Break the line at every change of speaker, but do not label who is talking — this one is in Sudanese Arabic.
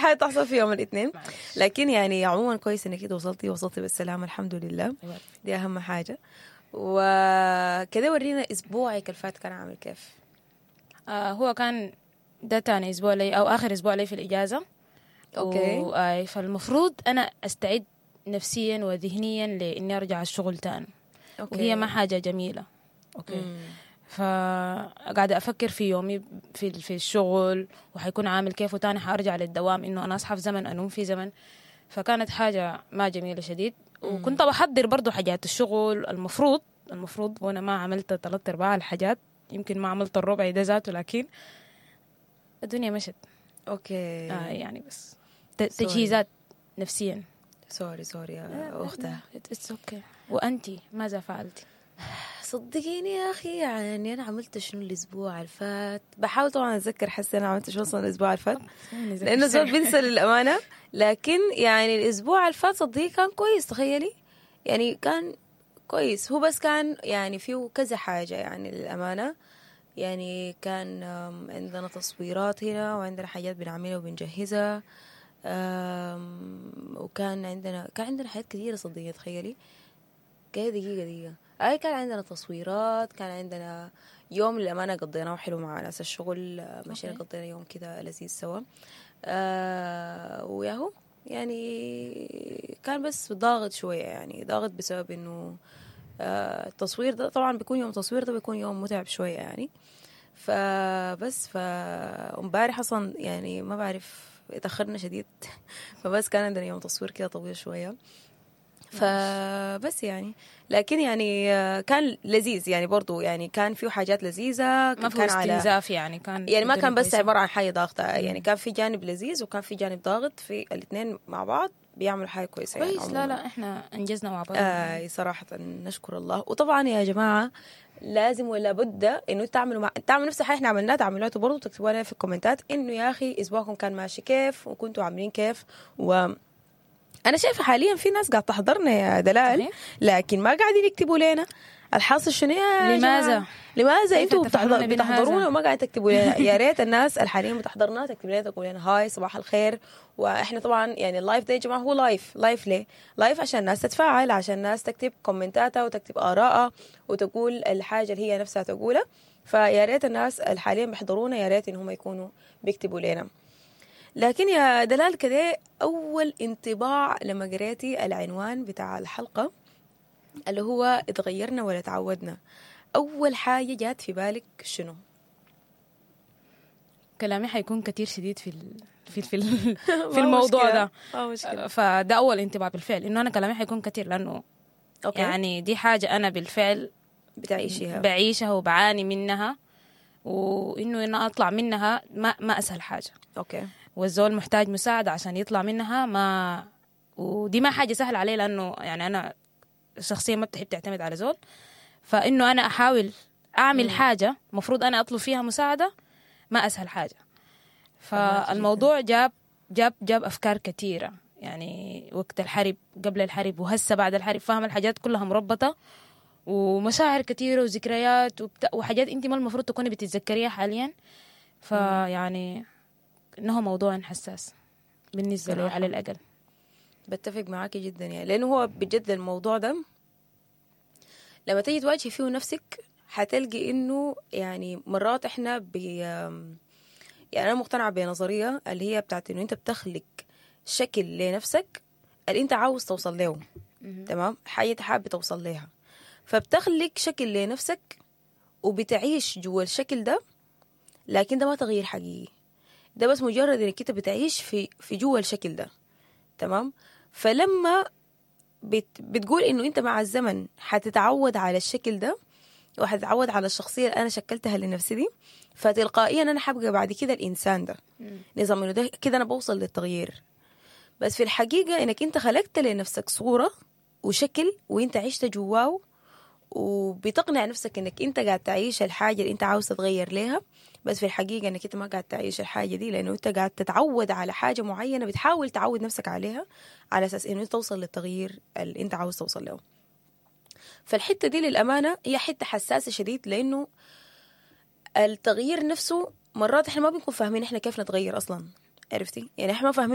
حاجة تحصل في يوم الاثنين. لكن يعني عموما كويس انك انت وصلتي بالسلامة الحمد لله. دي اهم حاجة. وكده ورينا اسبوعك الفات كان عامل كيف؟
هو كان ده تاني اسبوع لي او اخر اسبوع لي في الاجازة.
okay.
فالمفروض انا استعد نفسيا وذهنيا لاني ارجع الشغل تاني.
okay.
وهي ما حاجة جميلة. okay. فقاعدة افكر في يومي في الشغل وحيكون عامل كيف، وتاني حارجع للدوام انه انا اصحى في زمن انوم في زمن. فكانت حاجة ما جميلة شديد. وكنت بحضر برضو حاجات الشغل المفروض، وانا ما عملت 3/4 الحاجات، يمكن ما عملت الربع ده ذاته، لكن الدنيا مشت.
okay.
يعني بس تجهيزات نفسيا.
sorry يا اختها.
it's okay. وانتي ماذا فعلتي؟
صدقيني يا اخي، يعني انا عملت شنو الاسبوع الفات؟ بحاول طبعا اتذكر، حاسه انا عملت شنو اصلا الاسبوع الفات، لانه زول بنسى للامانة. لكن يعني الاسبوع الفات صدقيني كان كويس، تخيلي يعني كان كويس. هو بس كان يعني فيه كذا حاجة يعني للامانة. يعني كان عندنا تصويرات هنا، وعندنا حاجات بنعملها وبنجهزها، وكان عندنا كان عندنا حاجات كثيرة صدقيني. تخيلي كده دقيقة اي كان عندنا تصويرات، كان عندنا يوم للأمانة قضيناه حلو مع ناس الشغل، مشينا قضينا يوم كده لذيذ سوا. وياهو يعني كان بس ضاغط شوية، يعني ضاغط بسبب انه التصوير ده طبعا بيكون يوم تصوير ده بيكون يوم متعب شوية يعني. فبس فامبارح اصلا يعني ما بعرف اتأخرنا شديد، فبس كان عندنا يوم تصوير كده طويل شوية. فبس يعني لكن يعني كان لذيذ يعني برضو، يعني كان فيه حاجات لذيذة،
ما فيه استنزاف يعني، كان
يعني ما كان بس عبارة عن حاجة ضاغطة، يعني كان في جانب لذيذ وكان في جانب ضاغط، في الاثنين مع بعض بيعملوا حاجة كويسة يعني.
كويس. لا احنا انجزنا مع بعض.
صراحة نشكر الله. وطبعا يا جماعة لازم ولا بد انه تعملوا تعملوا نفس الحاجة احنا عملناها، تعملوها برضه، تكتبوا لنا في الكومنتات انه يا اخي اسبوعكم كان ماشي كيف وكنتوا عاملين كيف. و أنا شايفة حاليا في ناس قاعد تحضرنا يا دلال، لكن ما قاعدين يكتبوا لنا الحاصل شنو يا
لماذا؟
لماذا انتوا بتحضرونا وما قاعد تكتبوا لنا؟ يا ريت الناس الحاليا بتحضرنا تكتب لنا، تقول لنا hi صباح الخير. واحنا طبعا يعني ال live ده يا جماعة هو live ليه؟ live عشان الناس تتفاعل، عشان الناس تكتب كومنتاتها وتكتب آرائها وتقول الحاجة اللي هي نفسها تقولها. فيا ريت الناس الحاليا بيحضرونا يا ريت ان هم يكونوا بيكتبوا لنا. لكن يا دلال كده، أول انطباع لما قريتي العنوان بتاع الحلقة اللي هو اتغيرنا ولا تعودنا، أول حاجة جات في بالك شنو؟
كلامي حيكون كتير شديد في في في, في الموضوع ده. فده أول انطباع بالفعل، إنه أنا كلامي حيكون كتير لأنه
okay.
يعني دي حاجة أنا بالفعل
بتعيشيها،
بعيشها وبعاني منها، وإنه أنا أطلع منها ما أسهل حاجة.
okay.
والزول محتاج مساعدة عشان يطلع منها، ما ودي ما حاجة سهلة عليه، لأنه يعني أنا شخصيا ما بتحب تعتمد على زول. فإنه أنا أحاول أعمل حاجة مفروض أنا أطلب فيها مساعدة ما أسهل حاجة. فالموضوع جاب جاب جاب أفكار كثيرة، يعني وقت الحرب، قبل الحرب، وهسه بعد الحرب، فاهم الحاجات كلها مربطة، ومشاعر كثيرة وذكريات وحاجات أنت ما المفروض تكوني بتتذكريها حاليا. فيعني إنه موضوع حساس بالنسبة لي على الأقل.
بتفق معاكي جدا يعني، لأنه هو بجد الموضوع ده لما تيجي تواجهي فيه نفسك حتلقي إنه يعني مرات إحنا يعني أنا مقتنعة بنظرية اللي هي بتاعت إنه أنت بتخلق شكل لنفسك اللي أنت عاوز توصل له، تمام؟ حاجة حابة توصل لها، فبتخلق شكل لنفسك وبتعيش جوا الشكل ده، لكن ده ما تغيير حقيقي، ده بس مجرد انك انت بتعيش في جوا الشكل ده، تمام؟ فلما بتقول انه انت مع الزمن حتتعود على الشكل ده وحتتعود على الشخصية اللي انا شكلتها لنفسي دي، فتلقائيا انا حبقى بعد كده الانسان ده، نظام انه ده كده انا بوصل للتغيير. بس في الحقيقة انك انت خلقت لنفسك صوره وشكل وانت عشت جواه، وبتقنع نفسك انك انت قاعد تعيش الحاجة اللي انت عاوز تتغير ليها، بس في الحقيقة انك انت ما قاعد تعيش الحاجة دي، لانه انت قاعد تتعود على حاجة معينة بتحاول تعود نفسك عليها على اساس انه توصل للتغيير اللي انت عاوز توصل له. فالحته دي للامانة هي حتة حساسة شديد، لانه التغيير نفسه مرات احنا ما بنكون فاهمين احنا كيف نتغير اصلا، عرفتي؟ يعني احنا ما فاهمين